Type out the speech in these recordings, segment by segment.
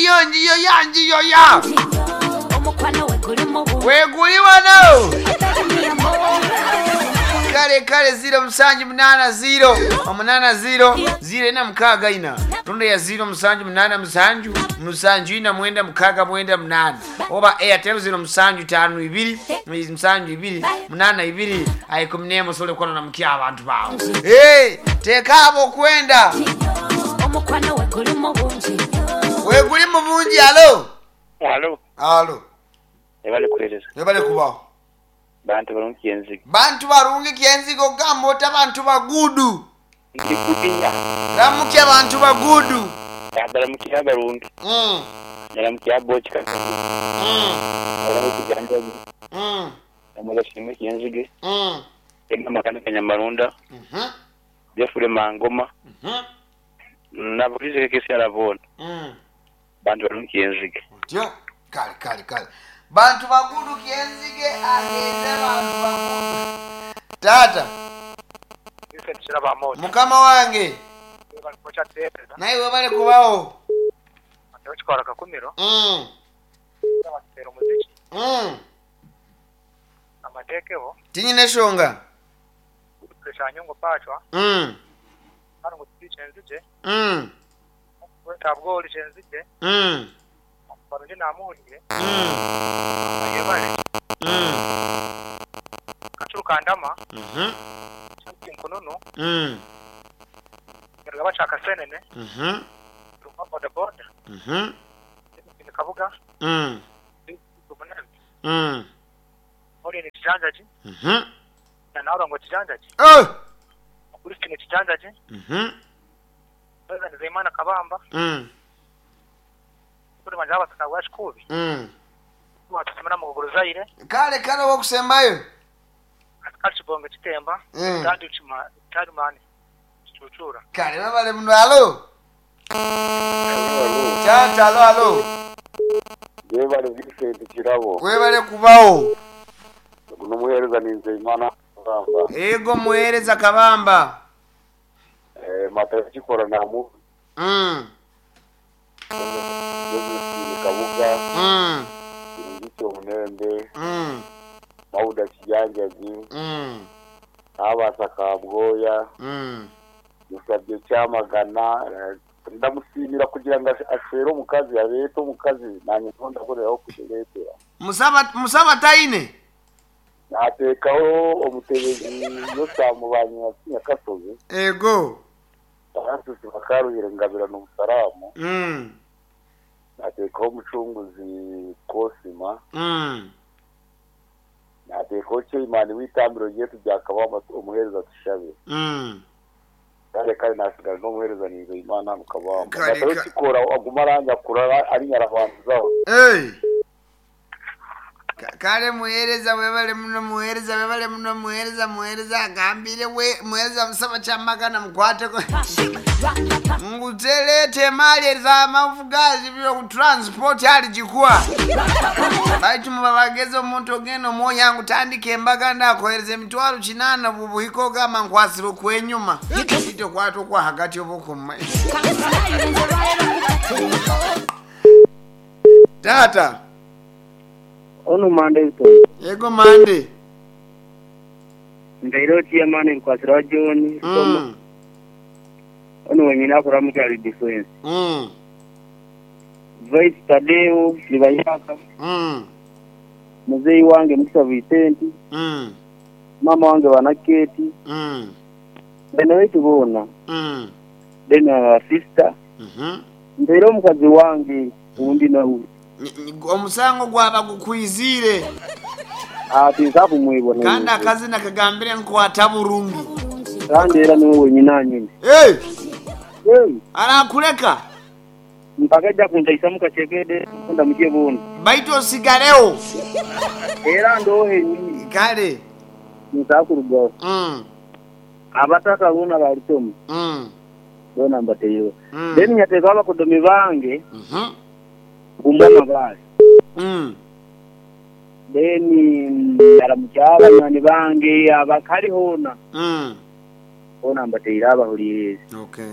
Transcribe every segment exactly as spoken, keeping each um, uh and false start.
Njiyo njiyo ya njiyo ya Omukwano weguli mu bungi. Weguli wano. Baby, mi amor. Kale kale ziro musanju munana ziro omunana ziro ziro ina mukaaga ina rundi ya ziro musanju munana musanju musanju ina mwenda mukaaga mwenda munana oba Airtel ziro musanju tano ibiri musanju ibiri munana ibiri aikumi n'emwe osobole kukola namukya abantu bawe. Hey, teeka abo okwenda. Omukwano weguli mu bungi. Weguli mu bungi. Alo. Alo. Alo. Ebale kuhereza. Ebale kubaho. Bantu barungi kyenzigo. Bantu barungi kyenzigo gamba ota bantu bagudu. Ndikubinya. Ramukya bantu bagudu. Baramukia barungi. Mm. Naramukia bochi kaka. Mm. Baramukia janjaji. Mm. Namugashimwe kyenzige. Mm. Ega makana kanyamarunda. Mhm. Jeffrey Mangoma. Mhm. Naburize kesi arabona. Mm. Bantu barungi kyenzige. Otyo. Kale kale kale. Bantu bagudu kyenzige ageze bantu bagudu. Tata. Mukama wange. Naye webale kubawo. Mm. Mm. Tinyina eshonga. Mm. Mm. Mm. Mm. Mm. Mhm. Mm. Mhm. Mhm. Mm. Mm. Mhm. Oh. Mhm. Mm. Mm. Kale kale wokusembayo. Mm. Kale babale muno. Alo. Tata alo alo. Webale Vincent Kirabo. Webale kubawo. Guno muhereza ni Nzeyimana Kabamba. Ego muhereza Kabamba. Eh mata kikora namu. Mm. Josephine Kabuga. Mm. Ngito Munembe. Mm. Mauda Kijanjaji. Mm. Abasa Kabgoya. Mm. Musabye Cyamagana. Ndamusimira kugira ngo ashere omukazi abeete omukazi nanye ntonda koreraho kukireetera. Musaba musaba taine. Nateekaho omutebezi yosamubanya Nyakasozi. Ego. Francis Bakaruhire Ngabira n'Omusaramu. Mm. Nateekaho omucunguzi Kosima. Mm. Nateekaho Chairman w'itambiro ryetu rya Kabamba omuheereza Tushabe. Mm. Kale kale nasigara n'omuheereza Nizeyimana mu Kabamba. Kale Natawe ka- kikora aguma aranyakura ari nyarabanzaho. Hey. Ka- Kale muhereza webale muno muhereza webale muno muhereza muhereza agambire we muhereza musaba Kyamagana mukwateko. Ngutelete mali za mafugazi byo ku transport ali jikwa. Baitu mubabageze omuntu ogenda omwoyo yangu tandika embaga ndakohereza emitwaro kinana bubuhiko gamba nkwasire okwenyuma. Ito kwata okwa hagati obukuma. Tata. Ono Mande to. Ego Mande. Ndairo chairman nkwasira wa John. Mm. Ono wenyina akora mu kyali defense. Mm. Vice Tadeo Libayaka. Mm. Muzeyi wange Mukisa Vincent. Mm. Mama wange Wanaketi. Mm. Bene wetu bona. Mm. Then our sister. Mhm. Ndairo omukazi wange undi nawe. Omusango gwaba gukwizire. Ati nsabu mwibona. Kandi akazina kagambire nkwata burungi. Kandi era niwe wenyina nyine. Hey. Hey. Arakuleka. Mpaka ja kunjaisa mukachekede kunda mukye bona. Baitu osigareo. Era ndohe nyini. Kale. Nsakurugaho. Mm. Abataka bona balitomu. Mm. Bona mbateyo. Mm. Then nyateka abakodomi bange. Mhm. Kumbana bali. Mm. Then aramukyala nani bange abakali hona. Mm. Hona mbateira abahuliriza. Okay.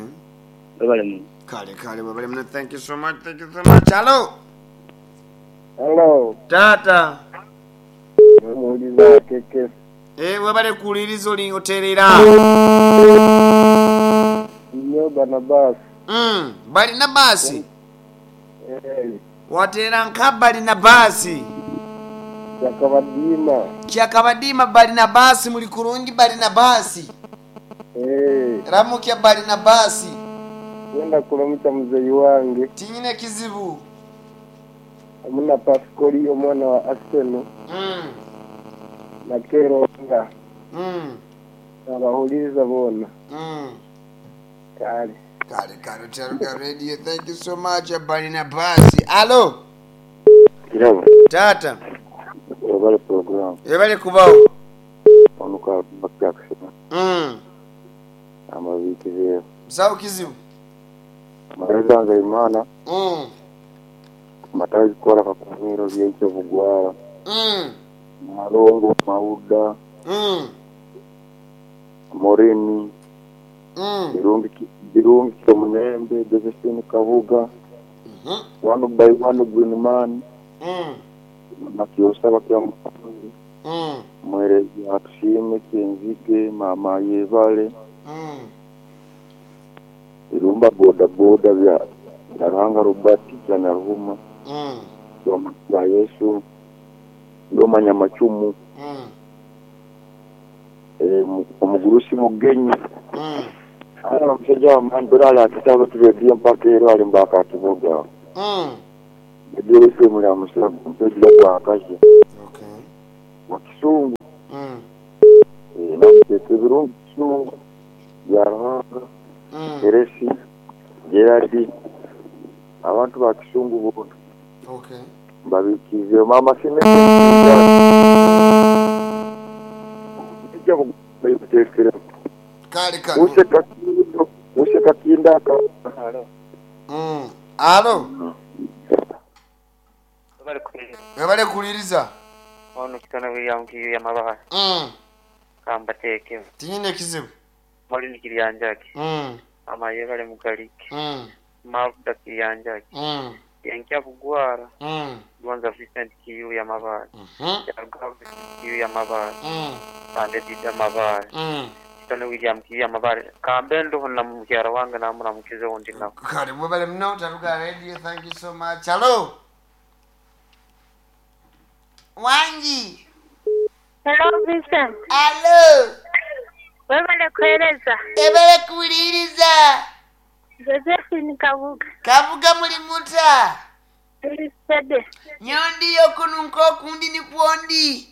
Babale mu. Kale kale webale muno, thank you so much, thank you so much. Alo. Hello, Tata. omuwuliza keke. Eh, webale kuwuliriza oli oteerera. Nnyo Barnabas. Mm, balina baasi. Eh, Wateera nka balina baasi. Kyakabadiima. Kyakabadiima balina baasi, muli kurungi balina baasi. Eh, Ramukya balina baasi. wenda kuramutsa muzeyi wange. Tinyine kizibu. Hamwe na Pascoli omwana wa Arsenal Mm. na Keronga. Mm. Abahuliriza boona. Mm. Kale. Kale kale Taruga Radio, thank you so much balina baasi. Alo. Kirabo, Tata. webale program Webale kubawo. onuka Jackson Mm. amabiikizeewo Musawo kizibu. amaleza nga imana Mm. matazi kola kakumiro byeikyo bugwara Mm. malongo mauda Mm. morini Mm. birungi birungi kyomunembe Josephine Kabuga Mhm. one by one green man Mm. nakyosaba kyamukanzi Mm. mwerezi atusiime kyenzige mama yebale Mm. irumba boda boda bya Nyaruhanga Robert Kyanyaruhuma Mm. bya Yesu ndoma macumu Mm. eh, mu- omugurusi mugenyi Mm. ala omusajja wamani bera akitabo turedio mpaka ero ali mbaka akivuga Mm. ebyolefemu lya musago mpejja gwakaje Okay. wa kisungu. Mm. Eh, namuteeka ebirungi kisungu bya Ruhanga. Mm. Eresi Gerard abantu ba kisungu bona Okay. mbabikize mama sine ijja kuteekera. Kale kale. Use kakindo use kakinda aka. Mm. Alo. Webale kuwuliriza. Ono kitone William Kiyu yamabala. Mm. Kambateeke. Tinyine kizibu. Molini Kiryanjaki. Mm. Amayebale Mugaliki. Mm. Mavuda Kiryanjaki. Mm. Yenkya Bugwara. Mm. Gonza Vincent Kiyu yamabala. Mhm. Yarugaba Kiyu yamabala. Mm. Kande Dida Mabala. Mm. Kitone William Kiyu yamabala. Kambe ndoho na mukyara wange namuramukize wundi nawe. Kale webale muno Taruga Radio, thank you so much. Alo. Wangi. Hello Vincent. Alo. Webale kuhereza. Ebale kuwuliriza. Josephine Kabuga. Kabuga muli muta. Tuli sede. Nyondi yokununka okundi nikwondi.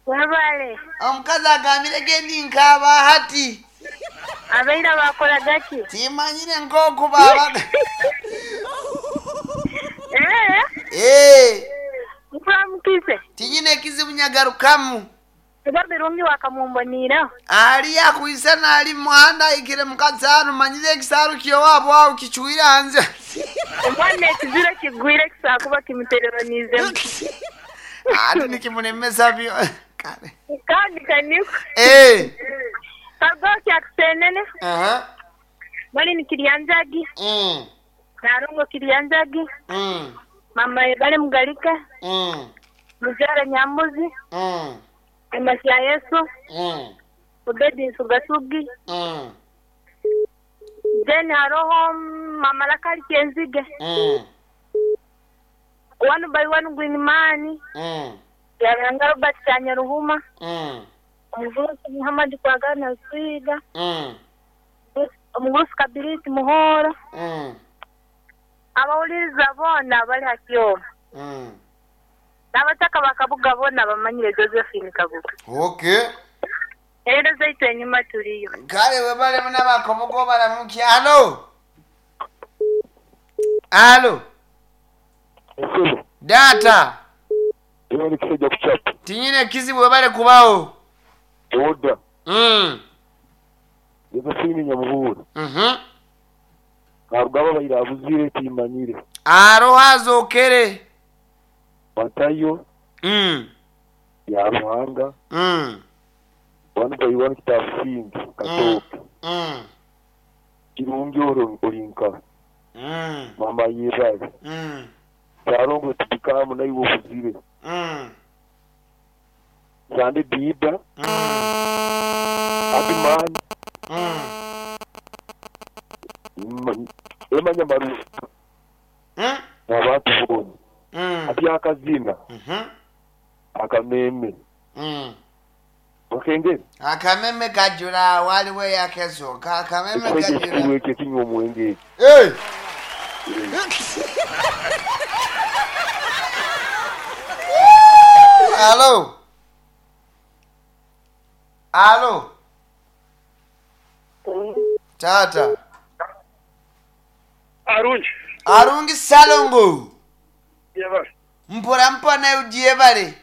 Webale. Omukazi agambire gendi nkaaba hati. Abaira bakola gaki? Timanyire nk'oku baabaga. Eh, Eh, nkuramukize. tinyine ekizibu nyagarukamu. Eba birungi wakamumbonira. Ali akwisa naali muhanda ayikire mukasaaru manyire ekisaaru kyowaabwe awo kicuire hanze. Omwana ekizira kigwire kisakuba kimutereranizemu. Ati nikimulemesa byo. Kale. Kandi kaniko. Eh. Kagoki akusenene. Aha. Bali ni Kiryanjagi. Mm. Narungo Kiryanjagi. Mm. Mama bali Mugalika. Mm. Muzara Nyambuzi. Mm. Emasi ya Yesu. Mm. Obedi Nsugasugi. Mm. Then haroho Mama Lakali Kyenzige. Mm. One by one Green Man. Mm. Yaranga Robert Kyanyaruhuma. Mm. Omugurusi Muhammad Kwagana Swiga. Mm. Omugurusi Kabiriti Muhoro. Mm. Abawuliriza boona bali hakyoma. Mm. N'abataka bakabuga boona bamanyire Josephine Kabuga. Okay. Era zaitu enyuma tuliyo. Kale webale muna bakobogo balamuki. Alo. Alo. Data. Eyo ni kisajja kuchapa. Tinyine kizibu webale kubawo. Oda. Mm. Josephine Nyamuhura. Mhm. Karugaba bayira abuzire timanyire. Aro hazokere. Batayo Mm. ya Ruhanga. Mm. One by one kitabusingi katoke. Mm. Kirungi oro olinka. Mm. Mama yebale. Mm. Salongo tubikamu naiwe obuzire. Mm. Sande Biba, Mm. Abimani, Mm. Emanya Maru, Mm. n'abantu boona. Mm. Ati akazina, Mhm. akameme. Mm. Okengere, Akameme kajula waliwo eyakesooka akameme ekisajja kajula. ekikulu ekyo ekinywa omwenge ekyo. Hey! Alo. Alo. Tata. Arungi. Arungi Salongo. Yebale. Mpora mpa naye ugyebale.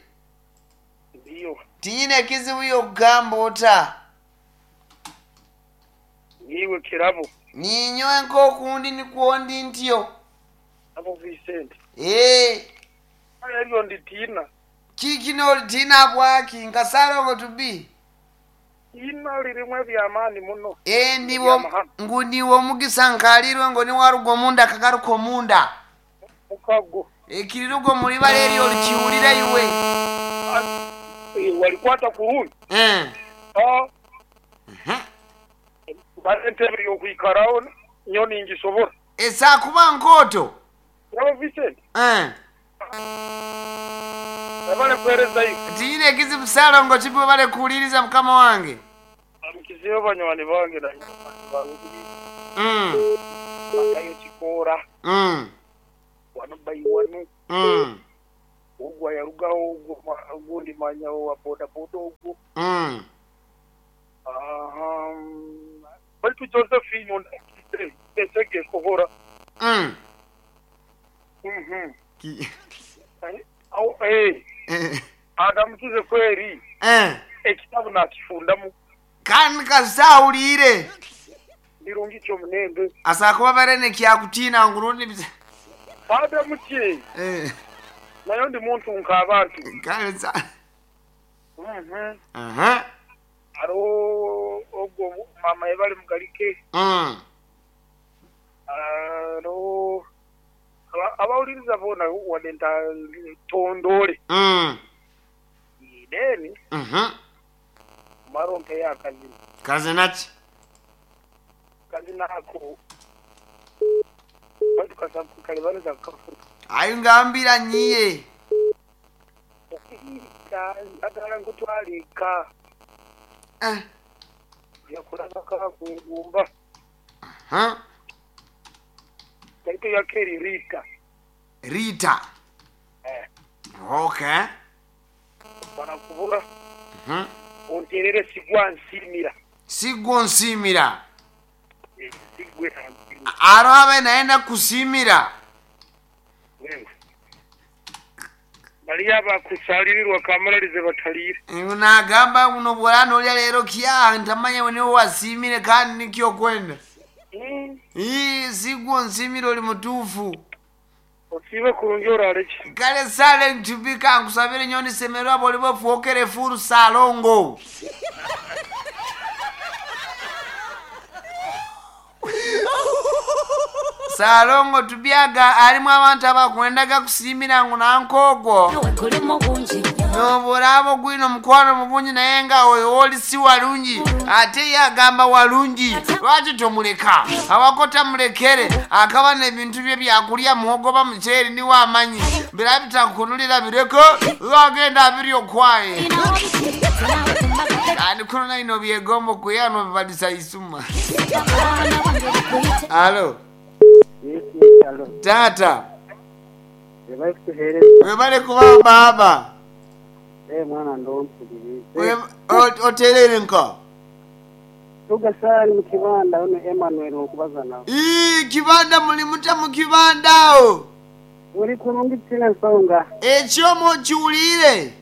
Ndiyo. Tinyina ekizibu yokugamba ota. Niwe kirabo. Ninyowe nk'okundi nikwo ndi ntyo. Abo Vincent. Ee, Eryo nditiina. kikino olitiina bwaki nka Salongo tubi. Ina lirimu ebyamaani muno. Ee, ndiwo ngu niwe omugisa nkalirwe ngo niwaruga omunda akagaruka omunda. Mukago. Ekirirugo mulibala eryo olikiwulira iwe. Eh, Walikwata kurungi. Eh. Ah, Mhm. bale entebe y'okwikaraho nyo ningisobora. Esaakuba nkooto. Kirabo Vincent. Eh. Abale kuherezayo. Tinyina ekizibu Salongo kibi bale kuwuliriza mukama wange. Amukizeyo banywani bange na banywani bange. Mm. Bakayo kikoora. Mm. Wano bayiwanu. Mm. Ogwo yarugaho ogwo ma- ogundi manyaho wa boda boda ogwo. Mm. Aha. Baitu Josephine ondakite esege kohora. Mm. Mhm. Ki- Au eh Eh. adamukize kweri Eh. ekitabu nakifundamu Kandi kasawulire. birungi kyomunembe Asakuba barene kyakutiina ngurundi bisa. adamuki Eh. nayo ndi muntu nk'abantu Kale sa. Mhm. Aha. hariho ogwo mama yebali mugalike Mm. hariho aba- abawuliriza boona wadde nta tondole Mm. then Mhm. maronke yakazina Kazina ki? kazina ako baitu kalebaneza kafuka Ayo ngambira nyiye. agala nkutwalika Eh. yakulaba kakungumba Huh? taito yakeri rita Rita. Eh. Okay. banakubura Mhm. onterere sigwa nsimira Sigwo nsimira. Eh, sigwe nsimira Aro abe naenda kusimira. bali abakusalirirwa kamalalize bataliire Nagamba buno bwolana olya leero kya ntamanya niwe wasimire kandi nikyo kwenda. Mm, Ii sigwo nsimira oli mutuufu. osiibe kurungi oraleki Kale sale ntubika nkusabire nnyo ndisemererwa bw'oliba ofuukere fuulu Salongo. Salongo tubyaga alimu abantu abakwendaga kusiimira ngu nankoogwo. We gulimu bungi. N'obulaba ogwino omukwano mu bungi naye nga oyo wooli si walungi ate ye agamba walungi lwaki tomuleka awako tamulekere akaba n'ebintu bye byakulya muwogo ba muceeri niwe amanyi bira bitakunulira bireko lwagenda abirya okwaye kandi kuno naino byegomba okuyano bibalisa isuma alo taata Ebali kutuheereza webale kuba baaba eh mwana ndompulirize. We- o- oterere nka Tugasaali mu kibanda ono Emmanuel okubaza nawe. Ii, kibanda muli mutya mu kibanda awo Uli kurungi tina nsonga. ekyomo okiwulire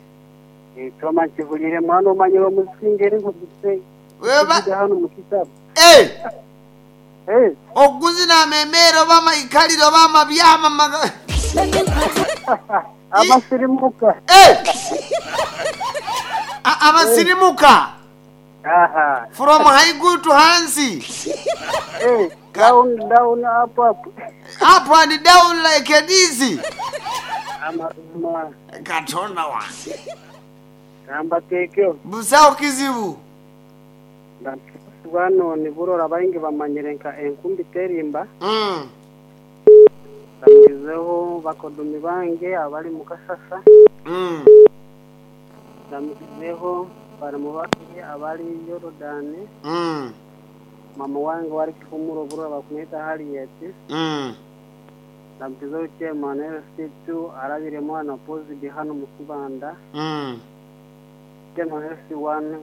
Ekyoma nkivulire mwana omanyire omusinga eri nkugise. Weba- Kuja hano mu kitabu. Eh, Eh, okuzina amemere oba amaikaliro oba amabyama maga- abasirimuka. Eh! A- abasirimuka Aha. From haiguru to hansi. Eh, down down up up. Up and down like a dizzy. Amazima. Katonda wange. Gamba tekyo. Busawo kizibu. Bano niburora baingi bamanyire nka enkumbi terimba. Mm. Ndamukizeho bakodumi bange abali mu Kasasa. Mm. Ndamukizeho baramu bange abali Yorodani. Mm. Mama wange wali Kihumuro burora bakumwita Harriet. Mm. Ndamukizeho chairman L C two arabire mwana Pozidi hano mu Kibanda. Mm. Chairman L C one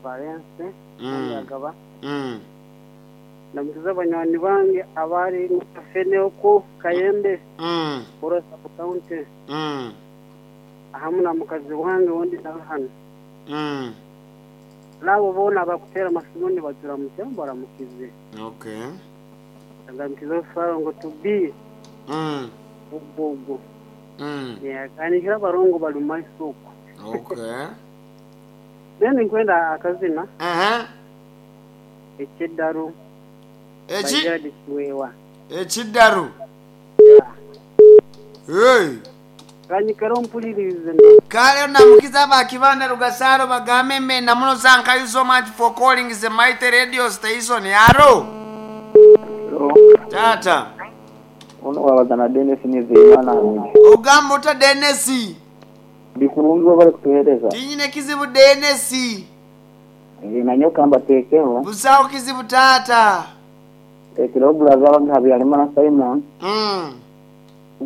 Valence. Mm. Agaba. Mm. Ndamukiza banywani bange abari mu Kafene oku Kayembe. Mm. Borosa County. Mm. Ahamu na mukazi wange wundi nawe hano. Mm. Nabo bona bakutera amasimu batura mu cyambo baramukize. Okay. Ndamukiza Farongo to be. Mm. Ubugo. Mm. Yeah, kanikira barongo bali mu isoko. Okay. Then nkwenda akazina. Uh-huh. Ekidaru. Eki? Kiwewa. Ekidaru. Hey. Kanyikero mpulirize. Kale namukiza bakibanda Rugasaro bagambe mbe namuno thank you so much for calling the mighty radio station yaro. Hello. Tata. Ono wabazana Dennis Nizeyimana Hamidi. Ogamba ota Dennis. Bikurungi bari kutuhereza. Tinyine kizibu Dennis. Eh, nanyoka mbatekeho. Busawo kizibu tata. Tekero brother wange Habyarimana Simon. Mm.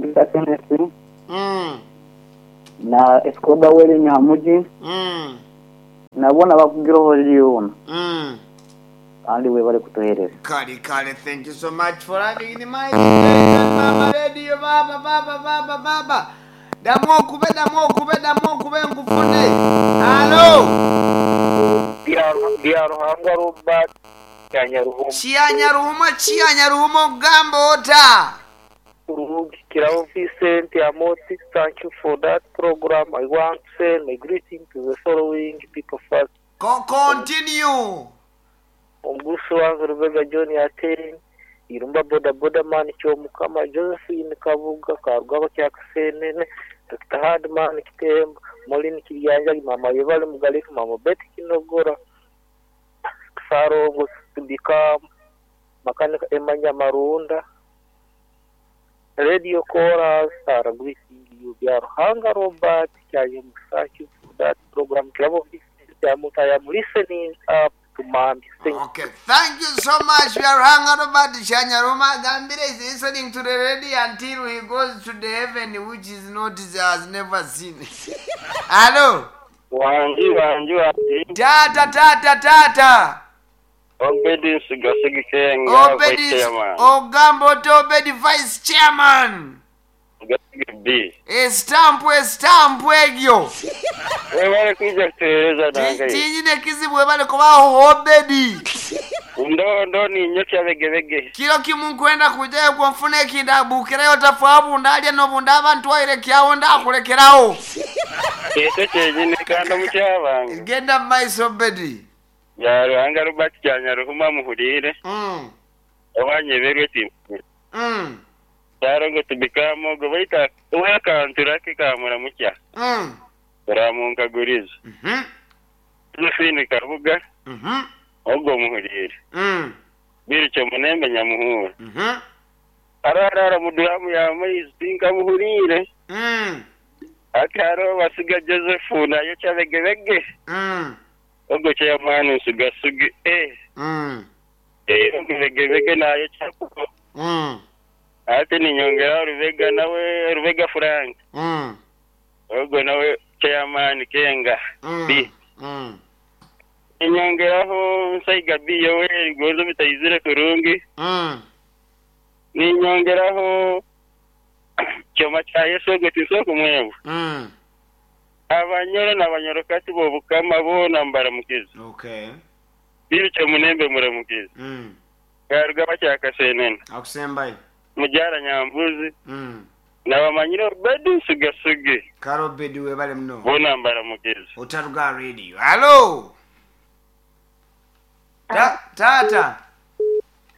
Gita Kenneth. Mm. Na Escobar Wele Nyamuji. Mm. Nabona bakugiroho liyona. Mm. Kandi we bari kutuhereza. Kale kale, thank you so much for having the mic. Mama radio baba baba baba baba. Damu okube damu okube damu okube nkufune. Hello. Bya Ruhanga Robert Kyanyaruhuma. Kyanyaruhuma Kyanyaruhuma ogamba ota. Kirabo Vincent Amoti, thank you for that program. I want to send my greeting to the following people first. Ko continue. Omugusi wange Rubega John Ateri, Irumba Boda Boda Man Kyomukama, Josephine Kabuga, Karugaba Kyakasenene, Doctor Hardman Kitembo, Molin Kiryanja, Mama Yebale Mugalika, Mama Betty Kinogora, Sarongo Tubikam, Makanika Emanya Marunda, Radio Chorus are greeting you. Bya Ruhanga Robert Kyayemusa, thank you for that program. Kirabo Vincent Amoti, I am listening up to Mambi. Thank Okay, thank you so much. We are hanging about the Shanyaruma Gambire is listening to the radio until he goes to the heaven, which is not has never seen. Hello. Wanji wanji wanji. Tata tata tata. Obedi Sigasigi Kenga Obedi vice chairman. Ogambo to Obedi vice chairman. Gasigi B. Estampu estampu egyo. Webale kuja kutuhereza nange. Tinyine kizibu webale kubaho Obedi. Ndo ndo ni nyocha begebege. Kilo kimu nkwenda kujayo kwenfuna ekindabukirayo tafu ndalya nobunda abantu wayirekyawo ndakulekerawo. Ekyo kyenyini kandi omukyabanga. Genda mu maiso Obedi. Ya Ruhanga Robert Kyanyaruhuma muhurire. Mm. Owanyeberwe ti. Mm. Sarongo tubikamo go baita wekantura kikamura mukya. Mm. Ramunkaguriza. Mhm. Josephine Kabuga. Mhm. Ogwo muhurire. Mm. Biricyo munembe nyamuhura. Mhm. Ararara muduramu ya maizi tinkamuhurire. Mm. Akaro basiga Joseph nayo kyabegebege. Mm. Ogwo chairman nsigasugi eh. Mm. Eh begebege nayo kyakuko. Mm. Ate ninyongera Rubega nawe Rubega Frank. Mm. Ogwo nawe chairman Kenga. Mm. B. Mm. Ninyongeraho Nsaiga B Yoweri Gonzo bitayizire kurungi. Mm. Ninyongeraho Kyoma kya Yesu ogwo tinsooka kumwebu. Mm. Abanyoro n'abanyorokati b'obukama boona mbaramukiza. Okay. Biricyo munembe muramukiza. Mm. Karugaba kyakasenene. Akusembayo. Mujara Nyambuzi. Mm. Nabamanyire Obedi Nsigasugi. Kale Obedi webale muno. Boona mbaramukiza. Otaruga radio. Hello. Ta- taata.